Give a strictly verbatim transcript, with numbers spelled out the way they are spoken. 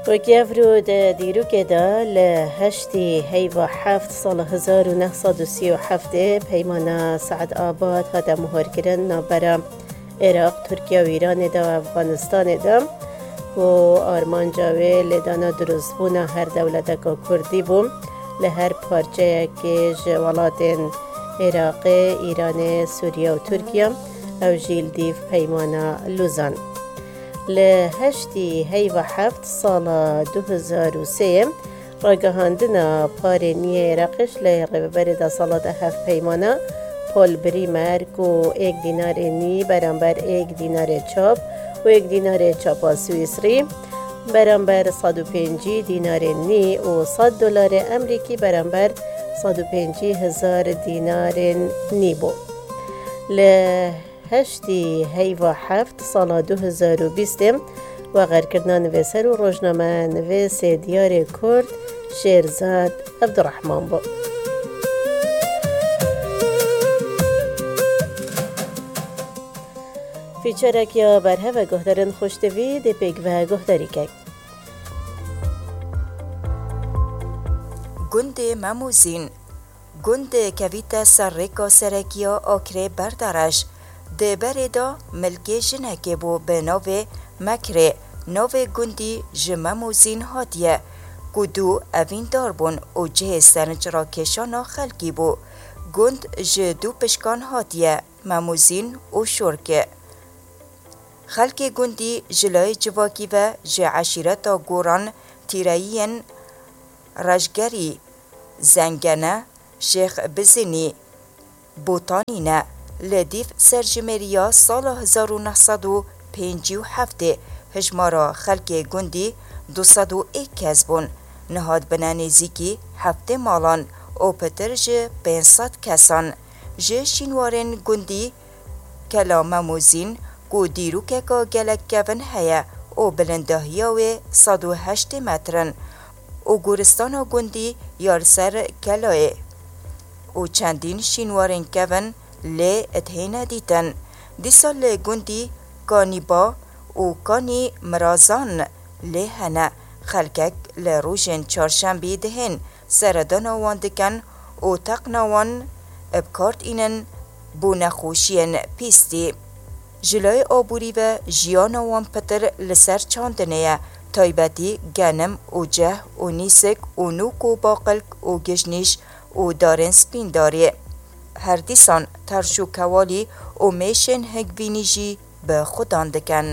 Wekî evro di dîrokê de li heştî heyva heft sala hezar û neh sed û sî û heftê peymana Seedabad hate mohirkirin navbera Iraq, Tirkiye û Îranê de û Efganistanê de ku armanca wê lêdana durustbûna her dewleteka Kurdî bû li her parçeyekê ji welatên Iraqê, Îranê, Sûriye û Tirkiye, ew jî li dîv peymana Luzan. Li heştî heyva heft sala du hezar û sê ragihandina parê nî yê Iraqê ji lê Rêveberê Desthilatê Hevpeyman Paul Bremer ku êk dînarê nî beramber êk dînarê çap û êk dînarê çapa Swîsrî beramber sed û pêncî dînarê nî û sed dolarê Emerîkî beramber sed û pêncî hezar dînarên nî bû. Li heştî heyva heft sala du hezar û bîstê wexerkirina nivîser û rojnameyanivîsê diyarê Kurd Şêrzad Evdirehman bû. Fîçerek ya berhev e guhdarên xweştevî dê pêk ve guhdarî kek. Gundê Memûzîn. Gund kevîte ser rêka serekî ya Akrê Berdereş. Di berê de milkê jinekê bû bi navê Mekrê. Navê gundî ji Memûzîn hatiye, ku du evîndar bûn û cihê sencrakêşana xelkî bû. Gund ji du pişkan hatiye, Memûzîn û Şorke. Xelkê gundî ji layê civakî ve ji eşîreta Goran Tîreyiyên Rejgerî, Zengene, Şêx Bizinî, Botanî ne. Li dîv serjimêriya sala hezar û neh sed û pêncî û heftê hijmara xelkê gundî du sed û êk kes bûn. Niha dibine nêzîkî heftê malan û pitir ji pênc sed kesan. Ji şînwarên gundî Kela Memûzîn ku dîrokeka gelek kevin heye û bilindahiya wê sed û heştê metr in û goristana gundî ya li ser kelayê û çendîn şînwarên kevin lê dihêne dîtin. Dîsa li gundî Kanîba û Kanî Mirazan lê hene. Xelkek li rojên çarşembî dihên seredana wan dikin û teqna wan bi kar tînin bo nexweşiyên pîstî. Ji layê aborî ve jiyana wan pitir li ser çandinê ye, taybetî genim û ceh û nîsik û nûk û baqilk û gijnîş û darên spîndarê. Her dîsan terş û kewalî û mêşên hingvînî jî bi xudan dikin.